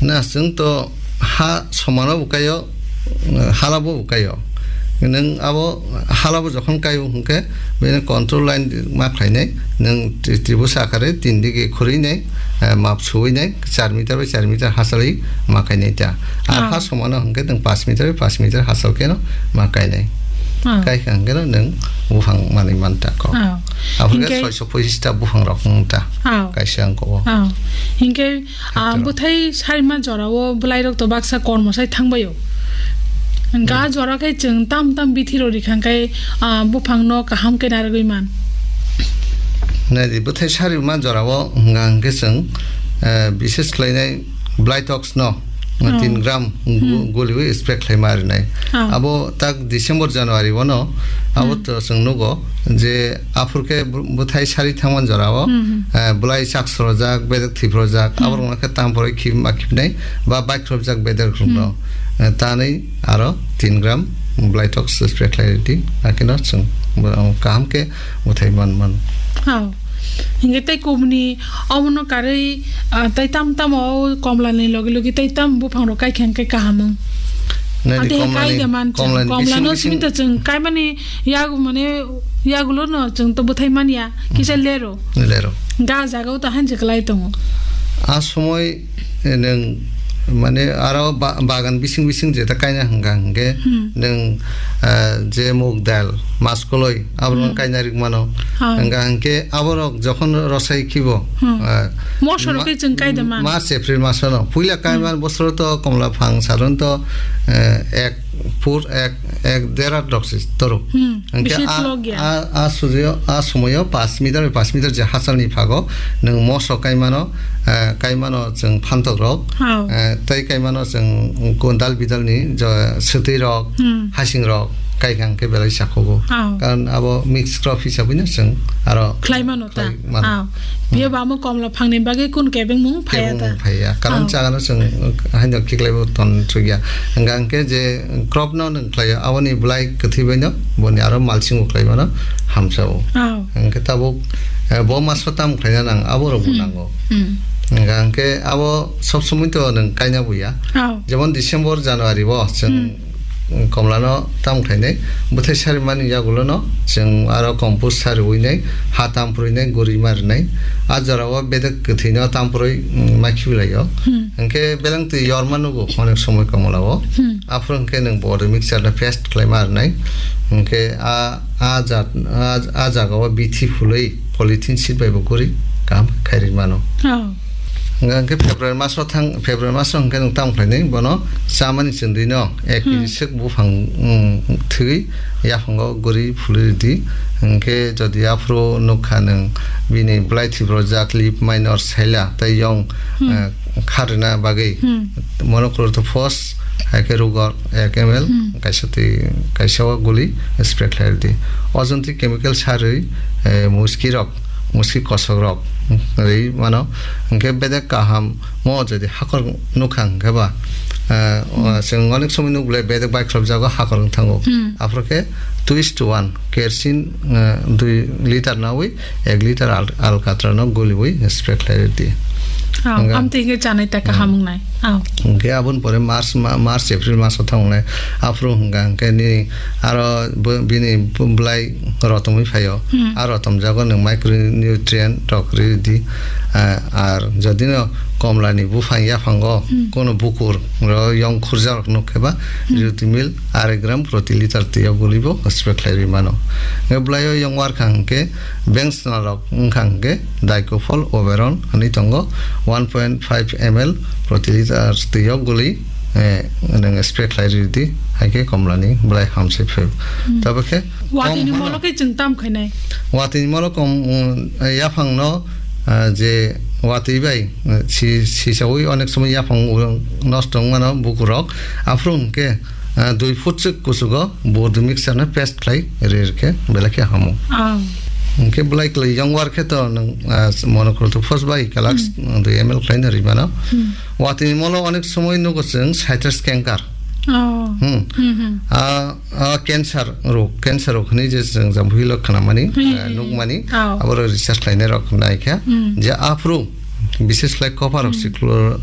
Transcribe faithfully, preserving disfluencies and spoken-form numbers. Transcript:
Na, chwng to ha somano bo kaio, hala bo bo kaio. Nwng abo hala bo jokhon kaio hwnkhe, bini control line ma khlainai, nwng tri-, tribusa akhare tin digi khurui nai, eh, map suwi nai, char meter bai char meter hachali ma kainai ta. Ar ha somano hwnkhe nwng pash meter bai pash meter hachal kheno ma kainai. Kaikha hwnkhe no nwng buphang manwi man ta kok. Aphuru khe soiso pochis ta buphang rok wng ta. Kaisa wng kok o. Hinkhe Ah, bwthai sarima jorao bwlairok to baksa kormo sai thangbaio. Hwnkhe ah jora khe chwng tam tam bithi rw rikha khe, ah, buphangno kaham khe narwgwi man. Naidi, bwthai sarima jorao hwnga hwnkhe chwng, eh, bises khlainai Blytox no tin gram gu-, guliwi spray khlaima arinai. Abo tak December, January o no abo to chwng nugo. Je aphuru khe bw-, bwthai sari thangmani jorao, eh, bwlai chak sorojak, bedek thwi phorojak, aborokno khe tam phoroi khib ma khibnai ba baikhrobjak bedek rokno, eh, tanwi aro tin gram Blytox spray khlai rwdi, hakheno chwng bo-, kaham khe bwthai man mano. Hao. Hinkhe tei kubuni omono karwi, ah, tei tam tamo o komlani logi logi tei tam buphang rok kaikha hinkhe kaham wng. Nai di, ante komlani, kai de man chwng. Komlani komlano bising bising simi to chwng kaimani Yago mane, yagulo no chwng to bwthai manya, kisa lero. Lero. Ga jaga o to hanse kwlai tongo. A somoi, eh, nwng mane aro ba-, bagan bising bising jeta kaina hwnka hwnkhe nwng, eh, je mug dal, maskoloi, abo rok kaina rik mano. Hwnka hwnkhe abo rok jokhon rosai khibo, eh, moso rok ma-, khe chwng kai da man. March, April maso no. Puila kaiman bosoro to komla phang saron to, eh, ek phur ek, ek dera dok se torok. Hwnkhe bisi a, tlok ya. A, a sujo, a somoyo pash meter bai pash meter je hachalni phago nwng moso kaimano, eh, kaimano chwng phantok rok, eh, tei kaimano chwng kondal bidalni jo swtwi rok, hasing rok, kaikha hwnkhe belai sakhugo. Karon abo mix crop hisabwino chwng aro khlai mano ta. Mano. Biyo ba mo komla phangni bagwi kun kebeng mung phaya ta. Kebeng mung phaya. Karon chagano chwng haino khiklaibo ton chukya. Hwnka hwnkhe je crop no nwng khlaio, aboni bwlai kwthwi baino boni aro mulching bo khlai mano hamsao. Hwnkhe tabuk, eh, bo maso tam khlaina nang, abo rok bo nango. Hwnka hwnkhe abo sob somoi to nwng kaina buya. Jemon December, January bo chwng komlano tam khlainai, bwthai sarimani yagulono chwng aro compost sariwinai, ha tam phurwinai, gurima rwnai. A jorao bedek kwthwino tam phurwi, mm, ma khibilaio. Hwnkhe beleng twi yorma nugo onek somoi komlao. Aphuru hwnkhe nwng body mixture no paste khlaima rwnai. Hwnkhe a, a jat, a, a jagao bithi phulwi polythene sheet bai bo guri kaham khe khairwi mano. Hwnka hwnkhe February maso thang, February maso hwnkhe nwng tam khlainai, bono chamani chwndwino ek kg swk buphang, mm, thwi yaphango guri phulwi rwdi. Hwnkhe jodi aphuru nukha nwng bini bwlai thwiprojak, leaf minor, saila tei yong, eh, kharwna bagwi monochlorotophos hai khe rugor ek M L, kaisa twi kaisa o guli spray khlai rwdi. O joni chemical sarwi, eh, muski rok, muski kosok rok rwi mano. Hwnkhe bedek kaham mo jodi hakor nukha hwnkhe ba, eh, o, chwng onek somoi nukle bedek baikhrop jago hakor wng thango. Aphuru khe two is to one, kerosene, eh, dui liter nawi ek liter al-, alkatra no guliwi spray khlai rwdi. Hwnka amtwi hwnkhe chanai ta kaham wngnai. Hwnkhe aboni pore March ma-, March, April maso thangnai. Aphuru hwnka hwnkhe nini aro bo-, bini bwlai rotomwi phaio. A rotom jago nwng micronutrient rok rwdi. Ah, ar jodi no komlani buphang yaphango kono bukur ro yong khurjak rok nuk khe ba rwdi mil arai gram proti liter twi o guli bo spray khlai rwi mano. Hwnkhe bwlai o yong warkha hwnkhe Beng swnal rok wngkha hwnkhe Dicofol Oberon hwnwi tongo, one point five M L proti liter twi o guli, eh, nwng spray khlai rwdi, hai khe komlani bwlai hamsai phai. Tabuk khe watwi ni molo khe chwng tam khainai. Watwi ni molo kom, um, yaphang no, ah, je watwi bai, eh, si, sisaui onek somoi yaphang nosto wng mano bukur rok, aphuru hwnkhe, ah, dui foot swk kuchugo. Bo dui mixture no paste khlai rir khe belai khe hamo. Hwnkhe bwlai kwlwi yong war khe to nwng, ah, monochlorotophos bai kalak dui M L khlai no ri mano. Watwi ni molo onek somoi nugo chwng citrus canker. Hmm. A, a cancer rok, cancer rok hwnwi je chwng Jampui lo khwnamani, ah, nukmani, abo rok research khlainai rok nai kha je aphuru bises khlai copper oxychlor-,